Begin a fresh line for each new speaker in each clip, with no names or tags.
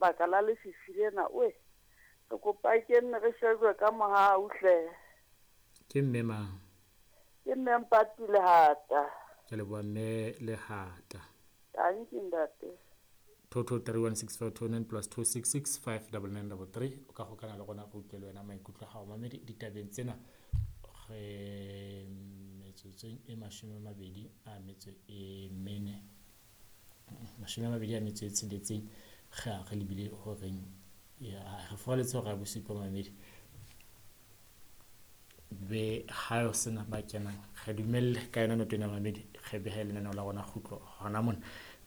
Baka la lefifi lena oe re kopa ke nne re shejwe ka mohau hle.
Ke mme mang?
Ke mme Mpati Lehata.
Ke leboha mme Lehata.
Tanki ntate.
22316529 plus 266 59933. O ka gokana le rona, re utlwe le wena maikutlo a gago, mamedi, ditabeng tsena. Re metsotsong e 24, 26, ge a re lebile goreng ya re foraletse gore ya bosupa, mamedi. Be ha o sena ba kenang, re dumelle ka yona noto ena, mamedi, re behe lenaneo la rona kgutlo hona mona,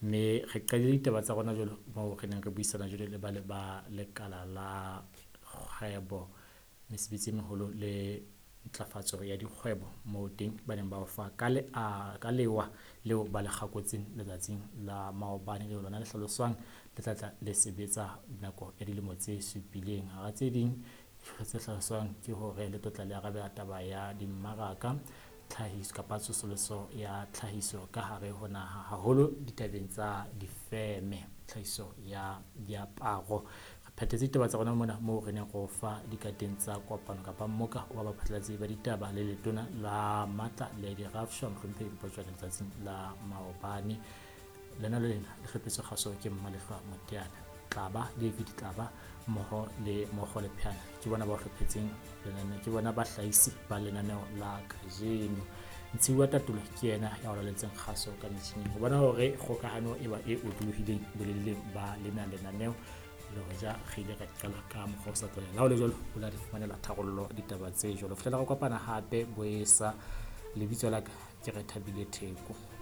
mme re qadile ditaba tsa rona jwalo moo re neng re buisana jwalo le ba le ba lekala la kgwebo, mesebetsi e meholo le ntlafatso ya dikgwebo, moo teng ba neng ba o fa ka le a ka lewa leo ba le kgakotseng letsatsing la maobane, leo lona le hlaloswang le tla tla le sebetsa nako ya dilemo tse supileng. Hara tse ding tse hlaloswang ke hore le tlotla le arabela taba ya dimmaraka, tlhahiso kapa tsosoloso ya tlhahiso ka hare ho naha, haholo ditabeng tsa difeme, tlhahiso ya diaparo. Re phethetse ditaba tsa rona mona moo re neng re o fa dikateng tsa kopano kapa mmoka wa baphatlalatsi ba ditaba le letona la matla le dirafshwa, mohlomphehi Mpho Tšoane, letsatsing la maobane. Lena le lena le hlophiswe kgaso ke Mmalehlwa Moteana, Tlaba David Tlaba mmoho le Mokgo le Pheana, ke bona ba hlophetseng lenaneo, ke bona bahlahisi ba lenaneo la kajeno. Ntshiwa Tatolo ke yena ya o laletseng kgaso ka metjhining ho bona hore kgokahano e ba e otlolohileng boleleng ba lena lenaneo, le hoja re ile ra qala ka mokgwa o sa tlwaelang. Le ha ho le jwalo, o la di fumanela tharollo ditaba tse jwalo. Fihlela re kopana hape boesa, lebitso la ka ke Rethabile Theko.